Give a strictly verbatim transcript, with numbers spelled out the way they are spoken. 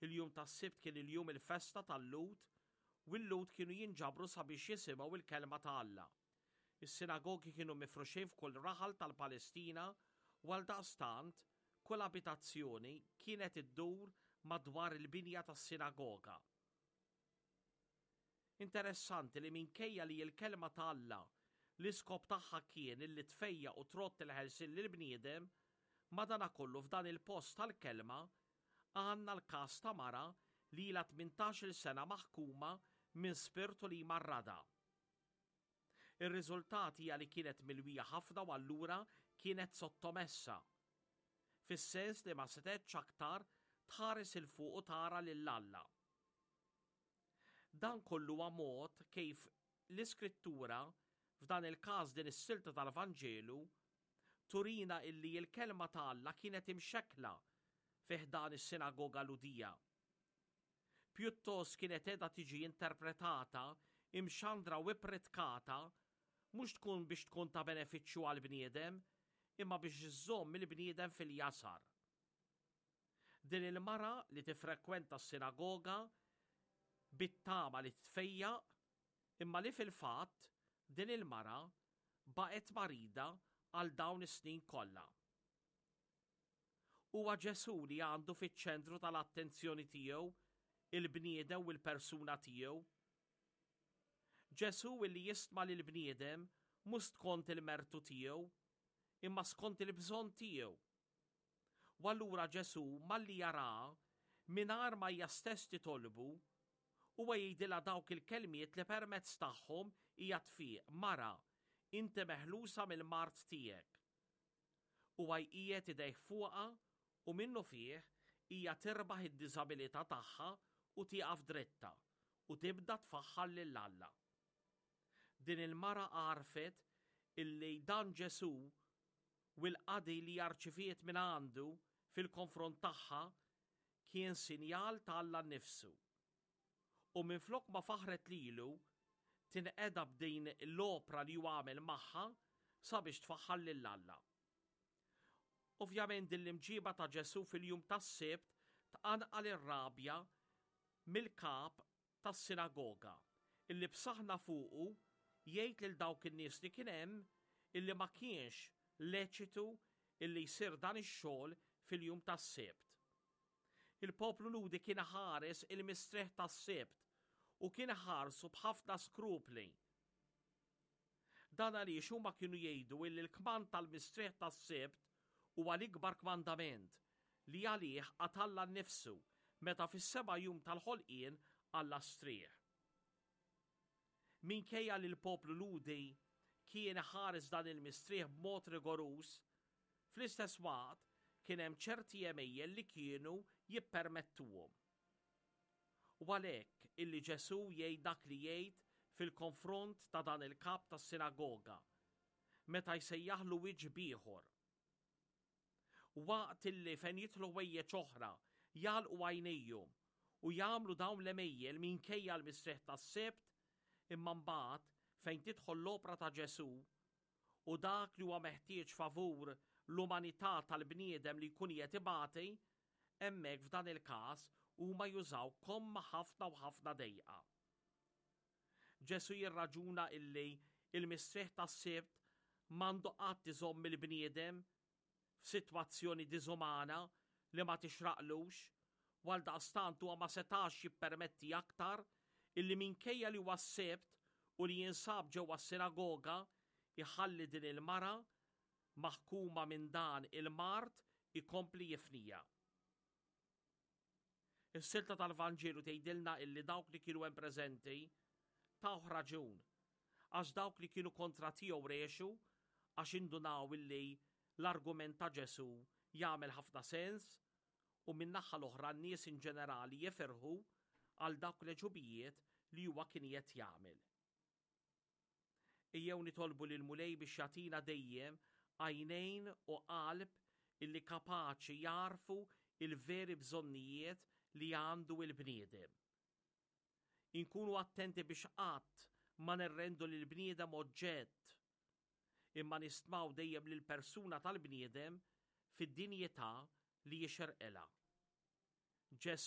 Il-jum tas-Sibt kien il-jum il-festa tal-Lhud u l-Lhud kienu jinġabru sabiex jisimgħu il-kelma ta' Alla. Is-sinagogi kienu mifruxin f'kull raħal tal-Palestina u għaldaqstant kull abitazzjoni kienet iddur madwar il-binja tas-sinagoga. Interessanti li minkejja li l-kelma ta' Alla l-iskop tagħha kien illi tfejjaq u trodd il-ħelsien lill-bniedem, madanakollu f'dan il-post tal-kelma għandna l-każ ta' mara li ilha tmintax-il sena maħkuma minn spirtu li jmarradha. Ir-riżultat hija li kienet milwija ħafna u allura kienet sottomessa. Fis-sens li ma setgħetx aktar tħares 'il fuq u tara lil Alla. Dan kollu huwa mod kif l-Iskrittura, f'dan il-każ din is-silta tal-Vanġelu, turina illi l-kelma ta' Alla kienet imxekkla fi ħdan is-sinagoga Lhudija. Pjuttost kienet qiegħda tiġi interpretata, imxandra u ippritkata, mhux tkun biex tkun ta' benefiċċju għall-bniedem, imma biex iżżomm il-bniedem fil-jasar. Din il-mara li tifrekwenta s-sinagoga bit-tama li tfejjaq, imma li fil-fatt din il-mara baqgħet marida għal dawn is-snin kollha. Huwa Ġesù li għandu fiċ-ċentru tal-attenzjoni tiegħu il-bniedem u l-persuna tiegħu. Ġesù li jistma lill-bniedem mhux skont il-mertu tiegħu, imma skont il-bżonn tiegħu. U allura Ġesù malli jara mingħajr ma hija stess titolbu, huwa jgħidilha dawk il-kelmiet li permezz tagħhom hija tfiq, mara, inti meħlusa mill-mard tiegħek. Huwa jqiegħed idejh fuqha u minnu fih hija tirbaħ id-diżabilità tagħha u tieqaf dritta u tibda tfaħħar lil Alla. Din il-mara għarfet illi dan Ġesù u l-qadi li rċeviet minn għandu fil-konfront tagħha kien sinjal ta' Alla nnifsu. U minflok ma faħret lilu, tinqeda b'din l-opra li hu għamel magħha sabiex tfaħħar lil Alla. Ovvjament din l-imġiba ta' Ġesù fil-jum tas-Sibt tqanqal ir-rabja mill-kap tas-sinagoga, illi b'saħna fuqu jgħid lil dawk in-nies li kien hemm illi ma kienx leċitu illi jsir dan ix-xogħol fil-jum tas-Sibt. Il-poplu Lhudi kien ħares il-mistrieħ tas-Sibt u kien ħarsu b'ħafna skrupli. Dan għaliex huma kienu jgħidu illi l-kmand tal-mistrieħ tas-Sibt huwa l-ikbar kmandament li għalih qagħad Alla nnifsu meta fis-seba' jum tal-ħolqien Alla strieħ. Minkejja li l-poplu Lhudi kien ħares dan il-mistrieħ b'mod rigoruż, fl-istess waqt kien hemm ċerti għemejjel li kienu jippermettuhom. U għalhekk illi Ġesù jgħid dak li jgħid fil-konfront ta' dan il-kap tas-sinagoga, meta jsejjaħlu wiċċ b'ieħor. Waqt illi fejn jidħlu ħwejjeġ oħra jagħlqu għajnejhom u jagħmlu dawn l-għemejjel minkejja l-mistrieħ tas-Sibt, imma mbagħad fejn tidħol l-opra ta' Ġesù u dak li huwa meħtieġ favur l-umanità tal-bniedem li jkun qed ibati, hemmhekk f'dan il-każ huma jużaw komma ħafna u ħafna dejqa. Ġesù jirraġuna illi il-mistrieħ tas-Sibt m'għandu qatt iżomm il-bniedem f'sitwazzjoni diżumana li ma tixraqlux, u għaldaqstant huwa ma setax jippermetti aktar illi minkejja li huwa s-Sibt u li jinsab ġewwa s-sinagoga iħalli din il-mara maħkuma minn dan il-mard ikompli jifnija. Is-silta tal-Vanġelu tgħidilna illi dawk li kienu hemm preżenti tawh raġun, għax dawk li kienu kontra tiegħu rexu għax indunaw illi l-argument ta' Ġesù jagħmel ħafna sens, u min-naħa l-oħra n-nies in ġenerali jifirħu għal dawk l-għeġubijiet li huwa kien qed jagħmel. Ejjew nitolbu lil Mulej biex jagħtina dejjem għajnejn u qalb illi kapaċi jarfu il-veri bżonnijiet li għandu il-bniedem. Inkunu attenti biex qatt ma nirrendu lil bniedem oġġett, imma nistmaw dejjem lil persuna tal-bniedem fid-dinjità li jixirqilha. Ġesù